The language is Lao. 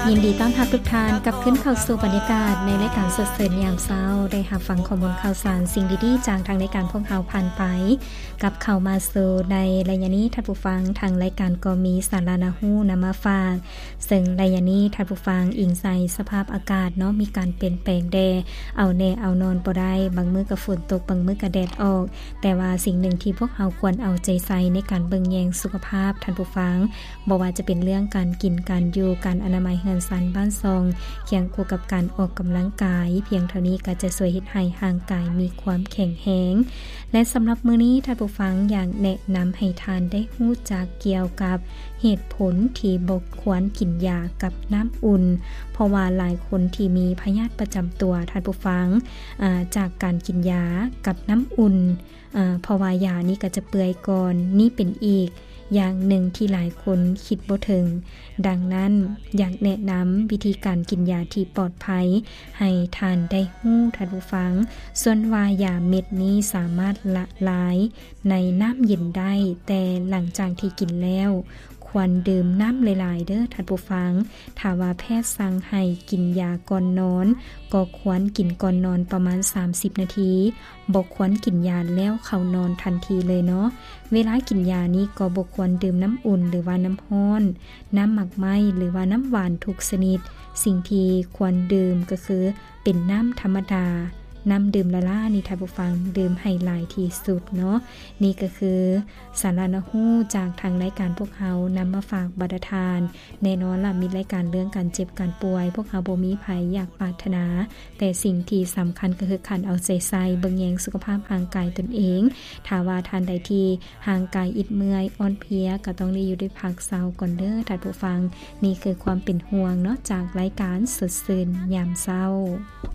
ຍິນດີຕ້ອນຮັບທຸກທ່ານກັບຄືນເຂົ້າສູ່ບັນຍາກາດໃນລາຍການສົດຊື່ນຍາມເຊົ້າ, ໄດ້ຮັບຟັງຂໍ້ມູນຂ່າວສານ, ສິ່ງດີໆຈາກທາງລາຍການພວກເຮົາຜ່ານໄປ. ກັບເຂົ້າມາສູ່ໃນໄລຍະນີ້, ທ່ານຜູ້ຟັງ, ທາງລາຍການກໍມີສາລະໜ້າຮູ້ນຳມາຝາກ. ເຊິ່ງໄລຍະນີ້, ທ່ານຜູ້ຟັງ, ອີງໃສ່ສະພາບອາກາດເນາະ, ມີການປ່ຽນແປງແດ່, ເອົາແນ່ເອົານອນບໍ່ໄດ້, ບາງມື້ກໍຝົນຕົກ, ບາງມື້ກໍແດດອອກ. ແຕ່ວ່າສິ່ງໜຶ່ງທີ່ພວກເຮົາຄວນເອົາໃຈໃສ່ໃນການເບິ່ງແຍງສຸຂະພາບ, ທ່ານຜູ້ຟັງ, ບໍ່ວ່າຈະເປັນເລື່ອງການກິນ, ການຢູ່, ການອະນາໄມເຮືອນຊານບ້ານຊ່ອງ, ຄຽງຄູ່ກັບການອອກກຳລັງກາຍ, ພຽງເທົ່ານີ້ກໍຈະຊ່ວຍເຮັດໃຫ້ຮ່າງກາຍມີຄວາມແຂງແຮງ. ແລະ ສຳລັບມື້ນີ້, ທ່ານຜູ້ຟັງ, ຢາກແນະນຳໃຫ້ທ່ານໄດ້ຮູ້ຈັກກ່ຽວກັບເຫດຜົນທີ່ບໍ່ຄວນກິນຢາກັບນ້ຳອຸ່ນ, ເພາະວ່າຫຼາຍຄົນທີ່ມີພະຍາດປະຈຳຕົວ, ທ່ານຜູ້ຟັງ, ອາ, ຈາກການກິນຢາກັບນ້ຳອຸ່ນ, ອາ, ເພາະວ່າຢານີ້ກໍຈະເປື່ອຍກ່ອນ, ນີ້ເປັນອີກ ຢ່າງໜຶ່ງທີ່ຫຼາຍຄົນຄິດບໍ່ເຖິງ. ດັ່ງນັ້ນ, ຢາກແນະນຳວິທີການກິນຢາທີ່ປອດໄພໃຫ້ທ່ານໄດ້ຮູ້, ທ່ານຜູ້ຟັງ. ສ່ວນວ່າຢາເມັດນີ້ສາມາດລະລາຍໃນນ້ຳເຢັນໄດ້, ແຕ່ຫຼັງຈາກທີ່ກິນແລ້ວ, ຄວນດື່ມນ້ຳຫຼາຍໆເດີ້, ທ່ານຜູ້ຟັງ. ຖ້າວ່າແພດສັ່ງໃຫ້ກິນຢາກ່ອນນອນ, ກໍຄວນກິນກ່ອນນອນປະມານສາມສິບນາທີ. ບໍ່ຄວນກິນຢາແລ້ວເຂົ້ານອນທັນທີເລີຍເນາະ. ເວລາກິນຢານີ້ກໍບໍ່ຄວນດື່ມນ້ຳອຸ່ນ ຫຼືວ່ານ້ຳຮ້ອນ, ນ້ຳໝາກໄມ້ ຫຼືວ່ານ້ຳຫວານທຸກຊະນິດ. ສິ່ງທີ່ຄວນດື່ມກໍຄືເປັນນ້ຳທຳມະດາ, ນ້ຳດື່ມລ້າໆນີ້, ທ່ານຜູ້ຟັງ, ດື່ມໃຫ້ຫຼາຍທີ່ສຸດເນາະ. ນີ້ກໍຄືສາລະໜ້າຮູ້ຈາກທາງລາຍການພວກເຮົານຳມາຝາກບັນດາທ່ານ. ແນ່ນອນລະ, ມີລາຍການເລື່ອງການເຈັບການປ່ວຍ, ພວກເຮົາບໍ່ມີໃຜຢາກປາດຖະໜາ, ແຕ່ສິ່ງທີ່ສຳຄັນກໍຄືການເອົາໃຈໃສ່ເບິ່ງແຍງສຸຂະພາບຮ່າງກາຍຕົນເອງ. ຖ້າວ່າທ່ານໃດທີ່ຮ່າງກາຍອິດເມື່ອຍ, ອ່ອນເພຍ, ກໍຕ້ອງໄດ້ຢູ່ໄດ້ພັກເຊົາກ່ອນເດີ້, ທ່ານຜູ້ຟັງ. ນີ້ຄືຄວາມເປັນຫ່ວງເນາະ, ຈາກລາຍການສົດຊື່ນຍາມເຊົ້າ.